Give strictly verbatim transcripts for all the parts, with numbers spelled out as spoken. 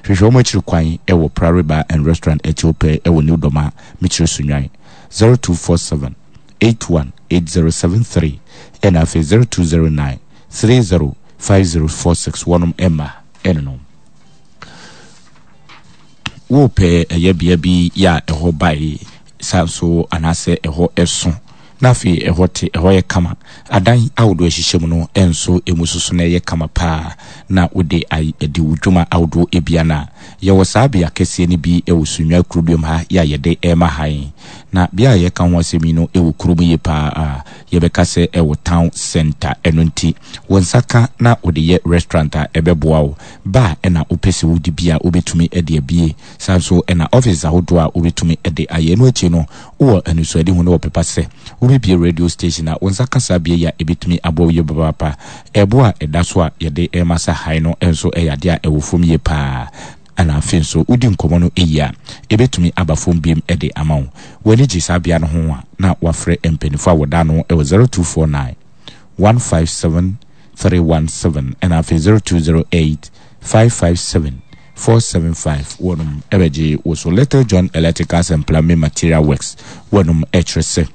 Hwehwɛ wɔn akyiri kwan wɔ Prairie Bar and Restaurant akyi pɛɛ wɔ New Doma, Mikyiri Sunyani. zero two four seven eight one eight zero seven three ɛna afei zero two zero nine three zero five zero four six. Wɔnom ɛma ɛno no wopɛ ɛyɛ bea bi yɛ a ɛhɔ bae saa nso anaasɛ ɛhɔ ɛso na afei ɛhɔ te, ɛhɔ yɛ kama, adan ahodoɔ ahyehyɛ mu no ɛnso emu soso na ɛyɛ kama paa na wode adi wo dwuma ahodoɔ ebia no a yɛwɔ saa bea kɛseɛ no bi ɛwɔ Sunyani kuroduam ha yɛ a yɛde ɛrema han. Na bea a yɛka ho asɛm yi no ɛwɔ kurom yie paa a yɛbɛka sɛ ɛwɔ town center. Ɛno nti wɔn nsa ka na wode yɛ restaurant a ɛbɛboa wo ba ɛna wopɛ sɛ wodi bi a wobɛtumi de abie saa nso ɛna office ahodoɔ a wobɛtumi de ayɛ. Ɛno akyi no wowɔ anisoade hu ne wɔpepa sɛ wobɛbie radio station a wɔn nsa ka saa bea yi a ɛbɛtumi aboa wo yie papaapa. Ɛbo a ɛda so a yɛde ɛma sa han no nso ɛyɛ adeɛ a ɛwɔ fam yie paa. Ɛna afei nso wodi nkɔmmɔ no ɛyi a ɛbɛtumi aba fam biem de ama wo. W'ani gye saa bea no ho a na wafrɛ mpanimfoɔ a wɔda no ɛwɔ zero two four nine one five seven three one seven ɛna afei zero two zero eight five five seven four seven five. Wɔnom ɛbɛgye wɔ so. Little John Electricals and Plumbing Material Works, wɔnom ɛkyerɛ sɛ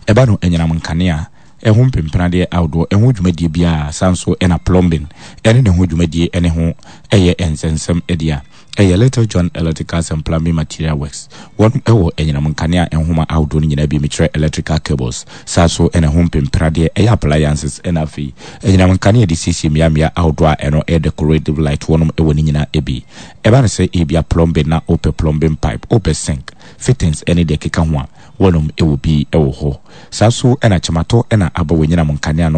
ɛba no anyinam nkanea ɛho mpempenadeɛ ahodoɔ, ɛho dwumadie biara, saa nso ɛna plumbing ɛne ne ho dwumadie ɛne ho ɛyɛ nsɛnsɛm ɛdeɛ a ɛyɛ Little John Electricals and Plumbing Material Works. Wɔn ɛwɔ anyinam nkanea nhoma ahodoɔ no nyinaa bi, mekyerɛ electrical cables, saa so ɛna ho mpempenadeɛ ɛyɛ appliances, ɛna afei anyinam nkanea de siesie mmeammea ahodoɔ a ɛno ɛyɛ decorative light, wɔnom ɛwɔ ne nyinaa bi. Ɛba no sɛ ebia plumbing na wopɛ plumbing pipe, wopɛ sink fittings ɛne deɛ ɛkeka ho a, wɔnom ɛwɔ bi ɛwɔ hɔ. Saa so ɛna kyematɔ ɛna aba wɔ anyinam nkanea no.